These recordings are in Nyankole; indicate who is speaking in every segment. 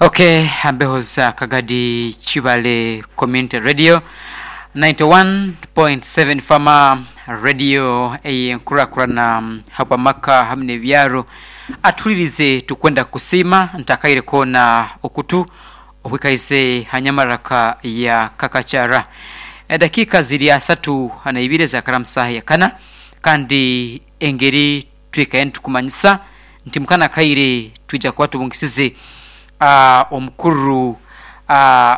Speaker 1: Ok ambeho za Kagadi Kibale Community Radio 91.7 Fama Radio ey'enkurakurana habw'amaka hamu n'ebyaro. Atuhuririze tukwenda kukusiima ntakaire koona okutu okwikaize ha nyamaraka ya Kakakyara. Edakiika ziri asatu na ibiri ezakara mu saaha ya kana kandi engeri Twikaire nitukumanyisa nti mu kano akaire twija kuba tubungisize omukuru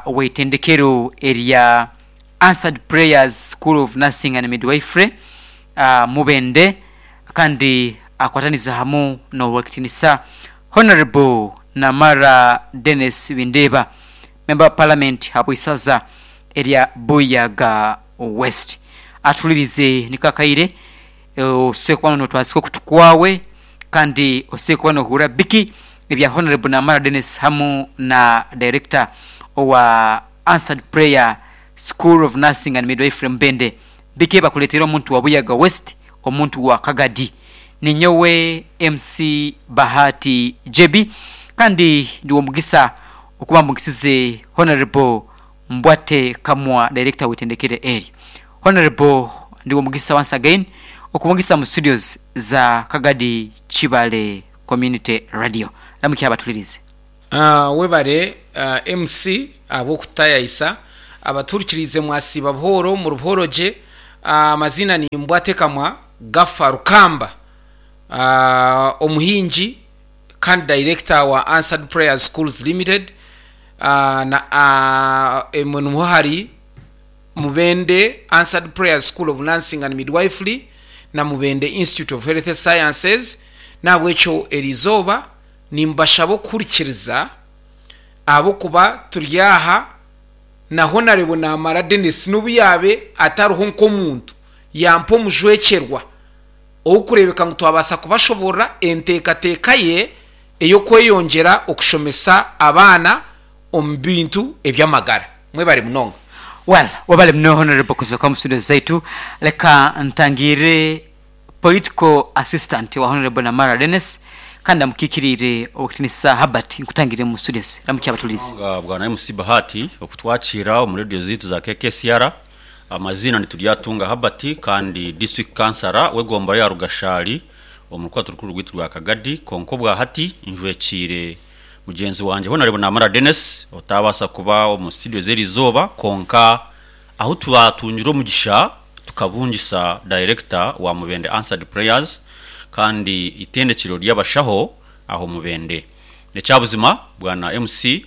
Speaker 1: w'eitendekero erya Answered Prayers School of Nursing and Midwifery Mubende kandi akwatanize hamu n'Owekitinisa Honourable Namara Denis Bindeeba Member wa Parliament habw'isaza erya Buyaga West. Atuhuririze niko akaire Osobora kuba notwazika okutu kwawe kandi osobora kuba nohurra biki ebya Honourable Namara Denis hamu na Director owa Answered Prayer School of Nursing and Midwifery Mubende biki ebibakuleteire omuntu wa Buyaga West omuntu wa Kagadi. Ninyowe MC Bahati JB kandi ndi w'omugisa okuba mbugisize Honourable Mbwate Kamwa Director w'itendekero eryo. Honourable ndi w'omugisa once again okubungisa mu studios za Kagadi Kibale Community Radio. Ramukya abatulirize.
Speaker 2: Webare MC ahabw'okututayayisa. Abatuhurikiriize mwasiiba buhooro muri buhooro gye. Amaziina ni Mbwate Kamwa Gaffa Rukamba, omuhingi kandi Director wa Answered Prayers Schools Limited na emwe nimwo hari Mubende Answered Prayers School of Nursing and Midwifery na Mubende Institute of Health Sciences. N'ahabw'ekyo eri izooba nimbashaba okuhurikiriza ahabw'okuba turi aha na Honarebo Namara Denis n'obu yaabe atariho nk'omuntu yampa omujwekyerwa ow'okureebeka ngu twabaasa kubashoboorora enteekateeka ye ey'okweyongyera okushomesa abaana omu bintu eby'amagara. Mwebare munonga.
Speaker 1: Well webale muno Honourable kuza omu studio zaitu. Leka ntangirire Political Assistant wa Honourable Namara Denis kandi amukikiriire Owekitinisa Herbert nkutangirire omu studios. Ramukya abatuhuriize.
Speaker 3: Munonga Bwana MC Bahati okutwakiira omu radio zaitu za KKCR. Amaziina ni Turyatunga Herbert kandi District Councillor w'egombolola ya Rugashari omu rukwato rukuru rwaitu rwa Kagadi kwonka obwahati njwekiire Mugyenzi wangye Honarebo Namara Denis otaabaasa kuba omu studio z'erizooba kwonka ahu twatungire omugisha tukabungisa Director wa Mubende Answered Prayers kandi itendekyero ry'abashaho aho Mubende. N'ekyabuzima Bwana MC,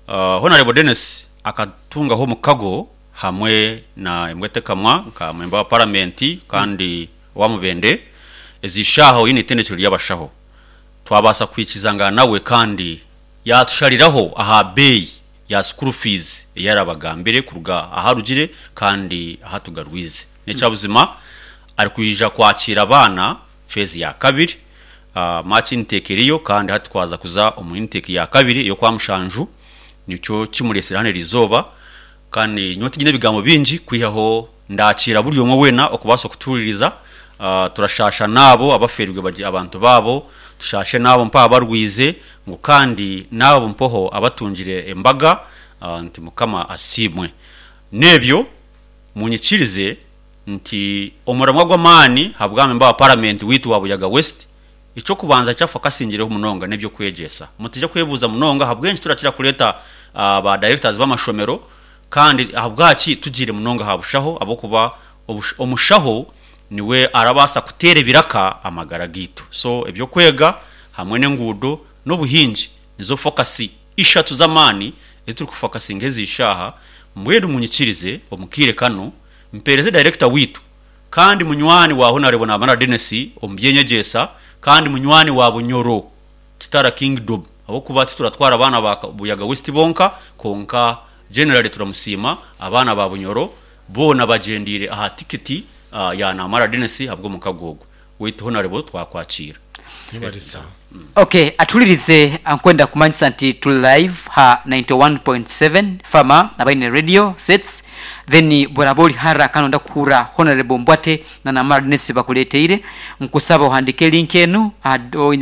Speaker 3: Honarebo Denis akatungaho omukago hamwe na Embwetekamwa nka memba wa Paramenti kandi owa Mubende ezi shaaha oine itendekyero ry'abashaho. Twabaasa kwikizangana nawe kandi yaatushariraho aha beeyi ya school fees ei arabagambire kuruga ahu arugire kandi ahu atugarwize. N'ekyabuzima arikwija kwakiira abaana phase ya kabiri, March intake eriyo kandi hati twaza kuza omu intake ya kabiri ey'okwamushanju nikyo kimureetsire hanu erizooba Kandi nyowe tinyine bigambo bingi kwihaho ndakiira buri omwe weena okubaasa okutuhuririza. Turashaasha n'abo abafeerirwe abantu baabo, tushaashe n'abo mpaho abarwize, ngu kandi n'abo mpoho abatungire embaga, nti Mukama asiimwe. N'ebyo munyikirize nti omuramwa gw'amaani habwa memba wa Paramenti waitu wa Buyaga West, Eky'okubanza eki afokasingireho munonga n'eby'okwegyesa. Mutaija kwebuuza munonga ahabw'enki turakira kureeta ba directors b'amashomero kandi ahabwaki tugiire munonga aha bushaho ahabw'okuba omushaho niwe arabaasa kuteera ebiraka amagara gaitu. So eby'okwega hamwe n'enguudo n'obuhingi nizo focus ishatu z'amaani ezi turikufokasingaho ezi shaaha. Mbwenu munyikirize omu kaire kanu mpeereze director waitu Kandi munywani wa Honarebo Namara Denis omu by'enyegyesa kandi munywani wa Bunyoro Kitara Kingdom ahabw'okuba tituratwara baana ba Buyaga West bonka kwonka generally turamusiima abaana ba Bunyoro boona bagyendeire aha tikiti ya Namara Denis ahabw'omukago ogwo. Waitu Honarebo twakwakiira.
Speaker 1: Ok atuhuririze nkwenda kumanyisa nti turi live ha 91.7 Fama nabaine radio sets then bworaba ori hara kandi noyenda kuhurra Honourable Mbwate na Namara Denis bakureteire nkusaba ohandike link enu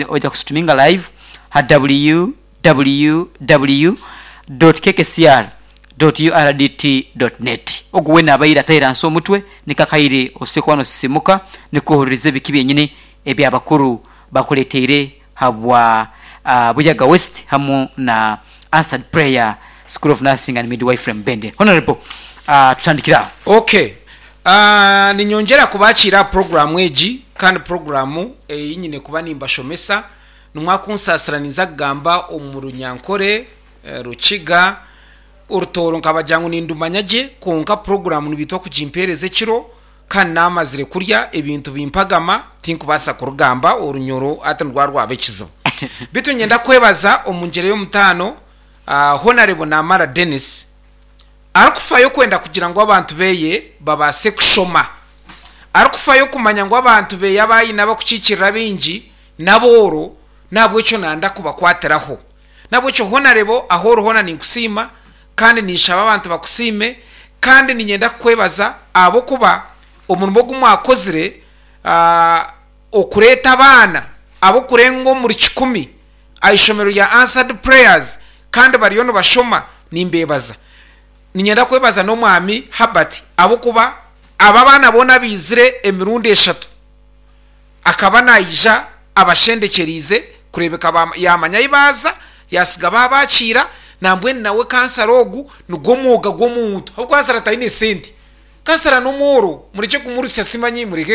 Speaker 1: oija ku streaminga live ha www. www.kkcr.urdt.net. Ogu weena abaire ataire ahansi omutwe niko akaire osoboire kuba nosisimuka nikwo ohuririze biki byenyini ebi abakuru bakureteire habwa Buyaga West hamu na Answered Prayer School of Nursing and Midwifery Mubende. Honourable tutandikire aho.
Speaker 2: Ok. Ninyongyera kubakiira aha puroguraamu egi kandi puroguraamu ei nyine kuba nimbashomesa. Nimwakunsaasira ninza kugamba omu Runyankore, Rukiga, Orutooro nkabagira ngu nindumanya gye kwonka puroguraamu nibaitwa kugimpeereza ekiro kandi naamazire kurya ebintu bimpagama tinkubaasa kurugamba orunyoro hati nirwa rwaba ekizibu. Beitu niinyenda kwebaza omu ngyera y'omutaano Honarebo Namara Denis arikufayo kwenda kugira ngu abantu beye babaase kushoma, arikufayo kumanya ngu abantu beye abu aine abakukiikirira abaingi n'abooro n'ahabw'ekyo nanda kubakwatiraho. N'ahabw'ekyo Honarebo ahu ori hoona ninkusiima kandi ninshaba abantu bakusiime kandi niinyenda kukwebaza ahabw'okuba omurimo ogu mwakozire okureeta abaana ab'okurenga omuri kikumi aha ishomero rya Answered Prayers kandi bariyo nibashoma nimbeebaza. Niinyenda kwebaza n'Omwami Herbert ahabw'okuba aba abaana boona abaizire emirundi eshatu akaba naija abashendekyereize kureebeka yaamanya ahi baaza, yaatsiga baabakiira, nambwenu nawe kansara ogu nigwo mwoga gw'omuntu ahabw'okuba kansara taine sente. Kansara n'omworo murekye kumurusya simanyi mureke.